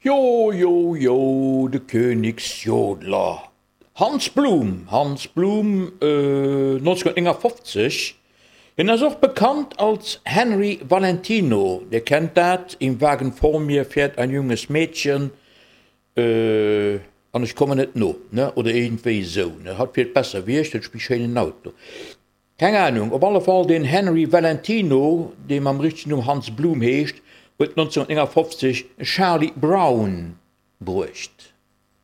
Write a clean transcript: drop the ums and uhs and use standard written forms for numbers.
Jo, jo, jo, de Königsjodler Hans Blum, Hans Blum, 1959, hien ass och bekannt als Henry Valentino, Dir kennt dat, Im Wagen vor mir fährt ein junges Mädchen an ech kommen net no, ne, oder iergendwéi esou, ne, hatt fiert besser wéi ech, huet méi schéinen Auto. Keng Ahnung, op alle Fall den Henry Valentino, dee mam richtegen Numm Hans Blum heescht, huet 1959 Charlie Brown bruecht.